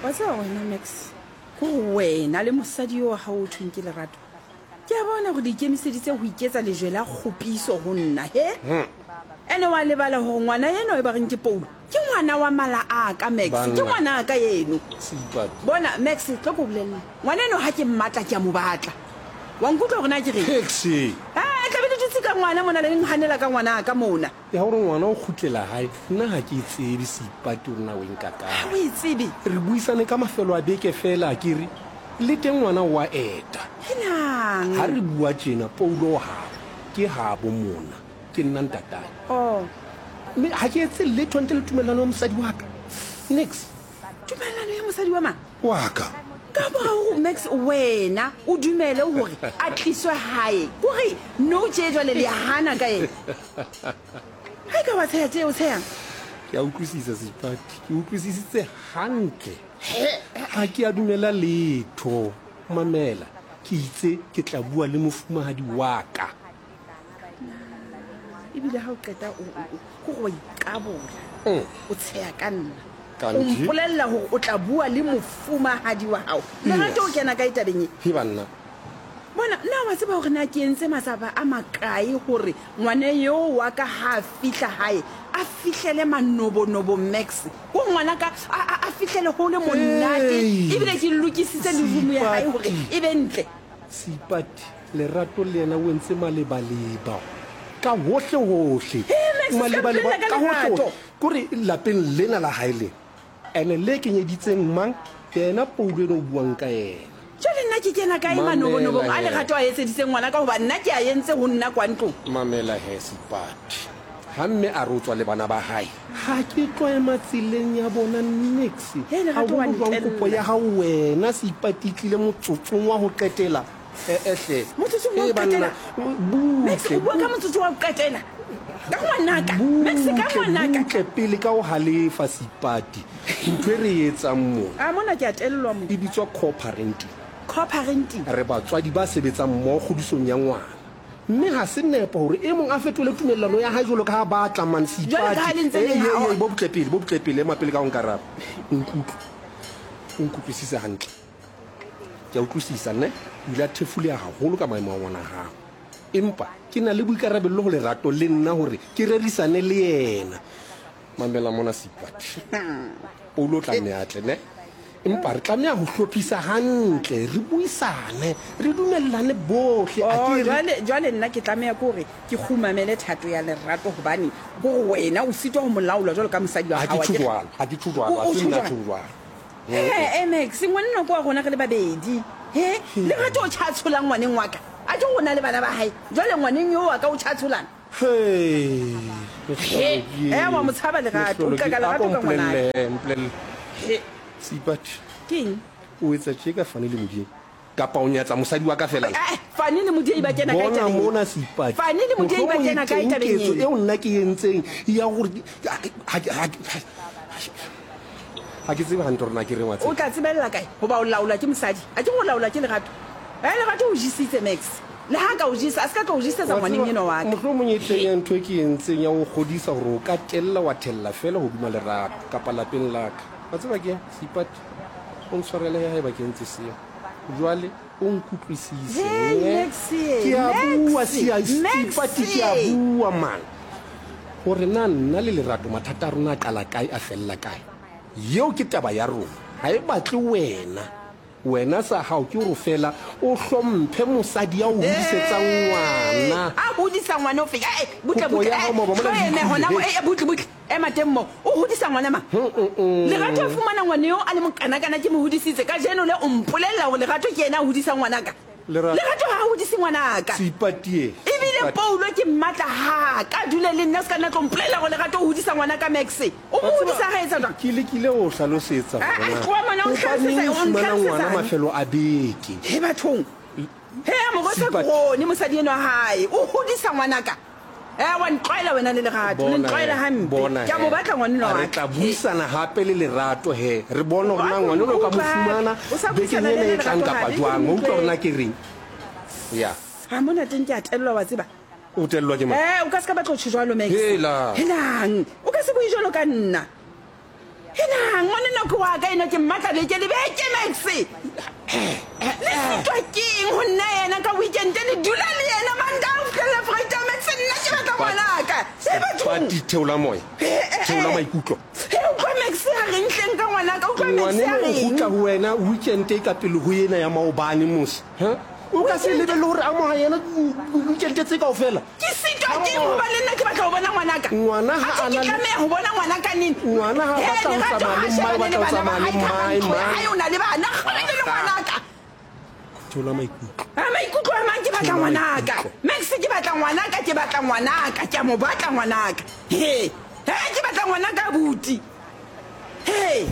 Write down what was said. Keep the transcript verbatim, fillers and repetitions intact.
Wa tseba wena Max, ko wena le mosadi yo wa gago o thweng ke Lerato, ke a bona gore le ikemiseditse go iketsa lejwe la kgopiso go nna, he? Ene wa lebala gore ngwana eno e ba reng ke Paulo, ke ngwana wa mala a ka, Max, ke Banna. ngwana ka eno. Seipati. Bona Max, tlo ko bolelle. Ngwana eno ha ke mmatla ke a mo batla. Wa nkutlwa gore na ke reng? Taxi. Eh, tlabe le dutse ka ngwana mona le nhanela ka ngwana ka mona. Ya gore ngwana o kgutlela hae, nna ha ke e tsebe Seipati o nna o e nka Ha kae. o e tsebe. Re buisane ka mafelo a beke fela a ke re le teng ngwana o a eta. Helang. Ha re bua tjena Paulo o habo, ke habo mona, ke nna ntatae. Oh. Mme ha ke etse letho ntle le tumellano ya mosadi wa ka. Nix. Tumellano ya mosadi wa mang? Wa ka. Ka mora hore Max wena o dumele hore a tliswe hae, kore no tje jwale le hana ka yena. Ha e ka wa tsheha tje o tshehang? Ke a utlwisisa Seipati, ke utlwisisitse hantle. Ha ke a dumela letho. Mamela, ke itse ke tla bua le mofumahadi wa ka. Ebile ha o qeta o, o, o, kore wa iqabola. Mm. O tsheha ka nna. O Kanti? mpolella hore o tla bua le mofumahadi wa hao. Lerato o Yes. kena kae tabeng e? He banna. Bona, na wa tseba hore na ke entse matsapa a makae hore ngwana eo wa ka ha a fihla hae, a fihlele manobonobo Max. Ko ngwana ka a, a, a fihlele ho le monate, Hey. ebile ke lokisitse le room ya hae hore Seipati. e be ntle. Seipati, Lerato le yena o entse malebaleba. Ka hohle hohle. He, Max, se ka Malebaleba mpolella ka ka hohle lerato. hohle. Kore lapeng lena la hae lena. Ene le kenyeditseng mang? Yena Paulo eno o buang ka yena. Jwale nna ke kena kae Mamela manobonobong a he. Lerato a etseditseng ngwana ka hoba nna ke a entse ho nna kwa ntlong. Mamela he Seipati. Ha mme a re o tswa le bana ba hae, ha ke tlo ema tseleng ya bona nix. He, Lerato wa Haholo jwang kopo ntella. ya hao wena Seipati e tlile motsotsong wa ho qetela. Eh, eh, hle. Motsotsong wa ho Eh, banna, qetela? Max, butle, o bua ka motsotso wa ho qetela. Ka ngwanaka. Max, ka butle, ngwanaka. butle pele ka ho halefa Seipati. Ntho e re e etsang mona A mona ke a tellwa mo. e bitswa co-parenting. Co-parenting. Re batswadi ba sebetsang mmoho kgodisong ya ngwana. Mme ha se nepo hore e mong a fetole tumellano ya hae jwalo ka ha ba tla man Jwalo ka ha le Seipati. ntse le Ei, ha- ei, ei, bo butle pele, bo butle pele, ema pele ka ho nkaraba. Nkutlwe. O nkutlwisise hantle. Ke a utlwisisa ne, o ile a thefuleha haholo ka maemo a ngwana hao. Empa ke na le boikarabello ho Lerato le nna hore ke rerisane le yena. Mamela mona Seipati. Paulo o tla nne a tle ne. Empa re tlameha ho hlophisa hantle, re buisane, re dumellane bohle. A Oh, ke re jwale, jwale nna ke tlameha ke hore ke kgumamele thato ya Lerato hobane hore wena o sitwa ho mo laola jwalo ka mosadi wa Ha ke hao, a tjho ke re? jwalo, ha ke tjho jwalo, O- ha o se tjho nna jwang? tjho jwalo. He, eh, Max, ngwanenwa ke wa rona re le babedi. He, Lerato o tjha tsholang ngwaneng wa ka. A ke rona le bana ba hae. Jwale ngwaneng eo wa ka o tjha tsholang. He, He, eh, wa mo tshaba Lerato, o Mehlolo qeka ke- Lerato a ko ka ngwana. mpolelle, mpolelle. He. Seipati. Keng? O etsa tje ka Fani le Modiei? Kapa o nyatsa mosadi wa ka fela? Eh, eh, Fani le Modiei ba kena kae Bona tabeng e? mona Seipati. Fani le Modiei ba Mohlomong e kena kae teng tabeng ketso e? eo nna ke e entseng ya hore ke- ha ke- ha ke- ha ke- ha ke tsebe hantle hore na ke reng wa tseba. O tla tsebella kae? Hoba o laolwa ke mosadi. A ke go laolwa ke Lerato. Eh, Lerato o jesitse Max. Le ha ka o jesa, a se ka tlo o jesetsa Wa ngwaneng tseba, enwa wa ka. Mohlomong e teng ya ntho e ke e entseng ya ho kgodisa hore o ka tella wa thella fela hodima Lerato kapa lapeng la ka. Wa tseba ke eng, Seipati? O ntshwarele he haeba ke entse seo. Jwale o nkutlwisise, Hey, ne? Max, Ke a Max, bua, Sia, Max. Seipati, ke a bua, man. Hore na nna le Lerato mathata a rona a qala kae, a fella kae. Eo ke taba ya rona. Ha e batle wena. Wena sa hao ke hore fela o hlomphe mosadi ya o hodisetsang ngwana. A hodisa ngwana o fe? Eh, eh, butle, Kopo butle, ya hao eh, maoba mona tlo le eme hona mo, utlwile. eh, eh, butle, butle. Ema teng moo. O hodisa ngwana mang? Mm, mm, mm. Lerato a fumana ngwana eo a le mokanakana ke mo hodisitse. Kajeno le o mpolella hore Lerato ke yena a hodisang ngwanaka. Lerato. Lerato ha a hodise ngwanaka. Seipati e. Ebile Seipati. Paulo ke mmatla ha ka dule le nna se ka nna tlo mpolella hore Lerato o hodisa ngwanaka Max. O mo Wa tseba, hodisa ha etsa jwang? Ke lekile ho hlalosetsa Ah, hore ah, na tloha mona, o hobaneng ntlhalosetse, o o fumana ngwana ntlhalosetsang? mafelo a beke. He bathong. He, morwesi Seipati. Krone, mosadi enwa wa hae. O hodisa ngwanaka. Eh, wa ntlwaela wena le Lerato, le Bona ntlwaela he, hampe. bona Ke a mo he. batla ngwanenwa A wa re ka. tla buisana hape le Lerato he. Re bone hore na Wa ngwana o ka mo utlwa. fumana O sa bekeng buisana le ena e yena tlang Lerato kapa hape, ke jwang. mo Wa utlwa hore utlwe. na ke reng? Ya. Ha mona teng ke a tellwa wa tseba. O tellwa ke mang? Eh, o ka se ka batla ho tjho jwalo, Max. Hela. Helang. O ka se bue jwalo ka nna. Helang, Ngwaneno ke wa ka eno, ke mmatla beke le beke, Max. Le sitwa keng ho nna yena ka weekend, le dula le yena Mantaha ho fihlela Friday, Max? Nna ke batla ngwanaka. E bathong. Pati, theola moya, theola maikutlo. He, utlwa Max, a reng hleng ka ngwanaka? Utlwa Max, a Ngwaneno o reng? kgutla ho wena weekend e ka pele ho ena ya maobane mose. Ha? O ka se lebelle hore amoha yena weekend tse kaofela. Ke sitwa keng hobane nna ke batla ho bona ngwanaka? Ngwana ha Atjhe, a ke na le- tlameha ho bona ngwanaka neng? Ngwana ha a He, batla ho Lerato tsamaya ha le mmae, o shebane batla le ho bana ba tsamaya le hae ka mmae, ntlo ya mmae. hae, o na le bana, kgole le ngwanaka. Theola maikutlo. A maikutlo a mang, ke batla Theola ngwanaka. maikutlo. Max, ke batla ngwanaka, ke batla ngwanaka, ke a mo batla ngwanaka. He, he, ke batla ngwanaka abuti. He.